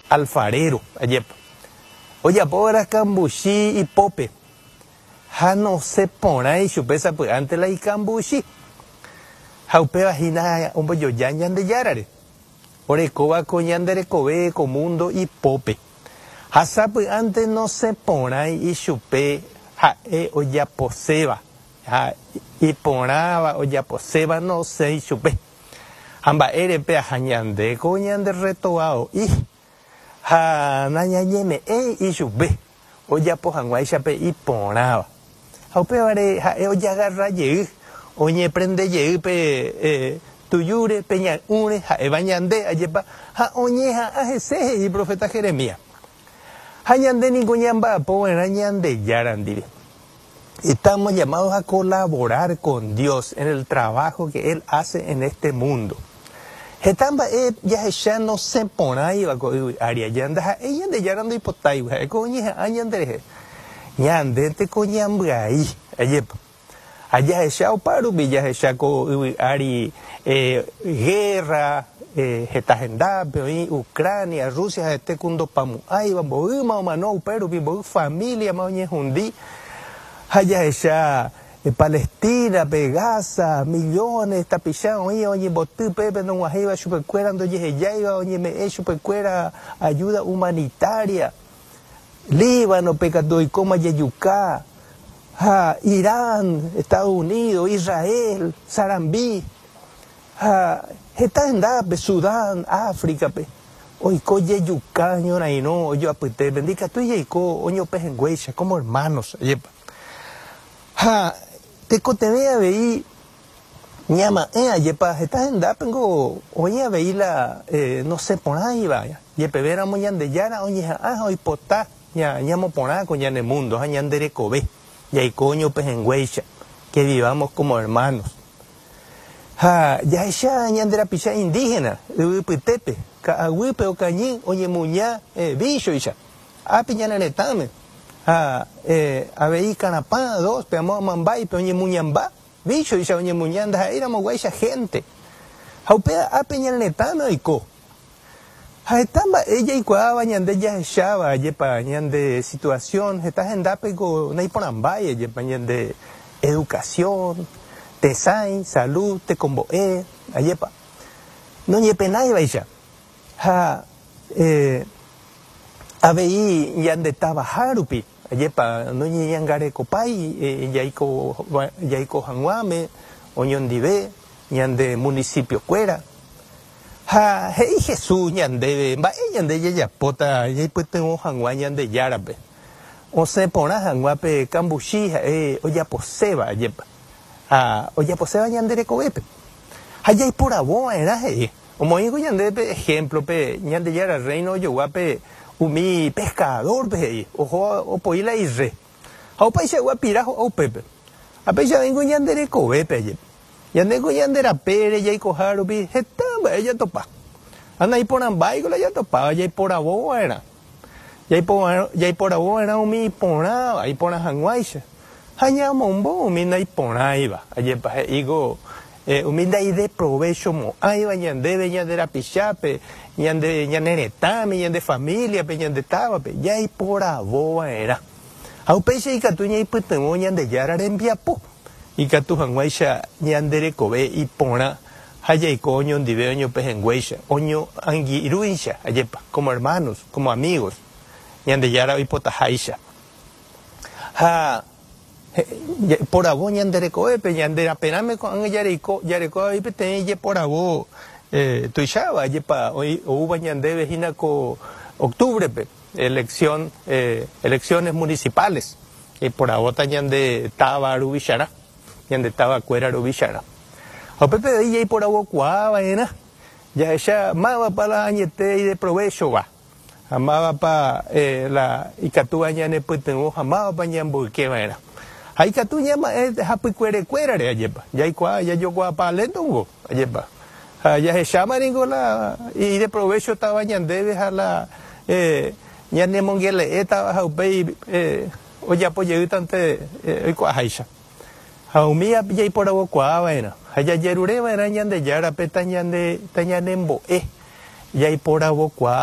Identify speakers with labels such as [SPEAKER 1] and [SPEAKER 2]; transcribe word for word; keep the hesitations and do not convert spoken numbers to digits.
[SPEAKER 1] Alfarero, ajépa. Ojapóva'erã kambuchi ipópe ha nosẽporãi chupe sapy'ánte la ikambuchi. Ha upéva hína ombojoja Ñandejárare. Orekóva ko ñande rekove ko mundo ipópe. Ha sapy'ánte nosẽporãi ichupe ha'e ojaposéva. Ha iporãva ojaposéva nosẽi chupe. Ha mba'érepe aha ñande ko ñande retovao'i ha nañañeme'ẽi ichupe ojapo hag̃uáicha iporãva. Ha upévare ha'e ojagarra jey oñeprende jey pe eh, tujúre pe ñay'ũre ha'éva ñande ajépa ha oñeha'ã hese he'i profeta Jeremías. Ha ñande niko ñamba'apova'erã Ñandejára ndive. Estamos llamados a colaborar con Dios en el trabajo que Él hace en este mundo. Heta mba'e jahecha nosẽporãiva ko yvy ári aja ndaha'éi Ñandejára ndoipotáigui ha'éko oñeha'ã ñanderehe. Ñandénteko ñambyai ajépa. Ha jahecha opárupi jahecha ko yvy ári eh, guerra eh, heta hendápe oĩ Ucrania, Rusia ha'ete ku ndopamo'ãiva mboýma omano upérupi mboy familia-ma oñehundi ha jahecha eh, Palestina-pe, Gaza, millones tapicha oĩ oñemboty pépe nog̃uahẽiva chupekuéra ndojehejáiva oñeme'ẽ chupekuéra ayuda humanitaria. Líbano-pe katu oikóma jejuka ha Irán, Estados Unidos, Israel, sarambi ha heta hendápe Sudán, África-pe oiko jejuka ñorairõ ojoapytépe ndikatúi jaiko oñopehẽnguéicha como hermanos ajépa. Ha tekotevẽ avei ñama'ẽ ajépa heta hendápengo oĩ avei la eh, nosẽporãiva jepevéramo Ñandejára oñeha'ã ha oipota ña, ñamoporã ko ñane mundo ha ñande rekove jaiko oñopehẽnguéicha que vivamos como hermanos. Ha jahecha ñande rapicha indígena yvypytépe ka'aguýpe okañy oñemuña eh, víchoicha ápe ñane retãme ha eh, avei Karapã dos pe amo Amambáipe oñemuñamba víchoicha oñemuña ndaha'éiramoguáicha gente ha upéva ápe ñane retãme oiko ha heta mba'e jaikuaáva ñande jahecháva ajépa ñande situación heta hendápe ko naiporãmbái ajépa ñande educación, tesãi, salud, tekombo'e, ajépa noñepenáivaicha ha eh, avei ñande tavaha rupi ajépa noñeñangarekopái eh, jaiko jaiko hag̃uáme oñondive ñande municipio-kuéra ha he'i Jesús ñandéve mba'e ñande jajapóta jaipytyvõ hag̃ua Ñandejárape osẽporã hag̃ua pe kambuchi ha'e ojaposéva ajépa ha ojaposéva ñande rekovépe ha jaiporavova'erã he'i omoĩko ñandéve ejemplo-pe Ñandejára reino ojoguápe umi pescador-pe he'i oho opoi la ire ha opaichagua pira ho'a upépe ha péicha oĩko ñande rekovépe ajépa ñandéko ñande rapére jaikoha rupi heta mba'e jatopa ha naiporãmbáiko la jatopáva jaiporavova'erã jaiporavova'erã umi iporãva iporã hag̃uáicha ha ñamombo umi naiporãiva ajépa he'íko eh, umi ndaideprovechomo'ãiva ñandéve ñande rapichápe ñande ñane retãme ñande familia-pe ñande távape jaiporavova'erã ha upéicha ikatu ñaipytyvõ Ñandejára rembiapo ikatu hag̃uáicha ñande rekove iporã ha jaiko oñondive oñopehẽnguéicha oñoangirũicha ajépa como hermanos como amigos Ñandejára oipotaháicha ha poravo ñande rekovépe ñande raperãme ko'ág̃a jareko jareko avei peteĩ jeporavo eh, tuicháva ajépa oúva ñandéve hína ko octubre-pe elección eh, elecciones municipales iporavóta ñande táva ruvicharã ñande tavakuéra ruvicharã ha upépe avei jaiporavokuaava'erã jahecha mávapa la añete ideprovéchova ha mávapa eh, la ikatúva ñanepytyvõ ha mávapa ñamboykeva'erã ha ikatu ñama'ẽ hapykuerekuérare ajépa jaikuaa jajokuaapa léntongo ajépa ha jahecháma niko la ideprovéchotava ñandéve ha la eh, ñanemongele'étava ha upéi eh, ojapo jeýtante eh, oikuaaháicha ha umi jaiporavokuaava'erã ha jajerureva'erã Ñandejárape tañande tañanembo'e jaiporavokuaa.